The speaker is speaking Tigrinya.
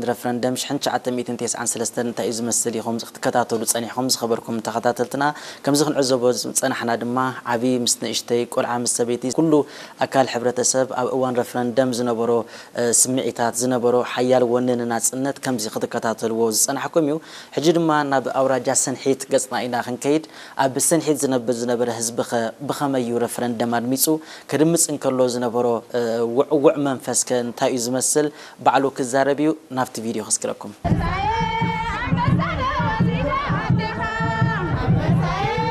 ረፍረንደም ሽሕን ትሽዓተ ሚእትን ተስዓን ሰለስተን እንታይ እዩ ዝመስል ኢኹም ክትከታተሉ ጸኒሕኩም ዝኸበርኩም ተኸታተልትና። ከምዚ ክንዕዘቦ ዝጸናሕና ድማ ዓቢ ምስ ንእሽተይ፣ ቆልዓ ምስ ሰበይቲ፣ ኩሉ ኣካል ሕብረተሰብ ኣብ እዋን ረፍረንደም ዝነበሮ፣ እ፣ ስምዒታት፣ ዝነበሮ ሓያል ወነ ንናጽነት ከምዚ ክትከታተልዎ ዝጸናሕኩም እዩ። ሕጂ ድማ ናብ ኣውራጃ ሰንሒት ገጽና ኢና ክንከይድ። ኣብ ሰንሒት ዝነብር ዝነበረ ህዝቢ ኸ ብኸመይ እዩ ረፍረንደም ኣድሚጹ? ክድምጽ እንከሎ ዝነበሮ፣ እ፣ ውዕውዕ መንፈስ ከ እንታይ እዩ ዝመስል? ባዕሉ ክዛረብ እዩ። ናብቲ ቪድዮ ከስግረኩም።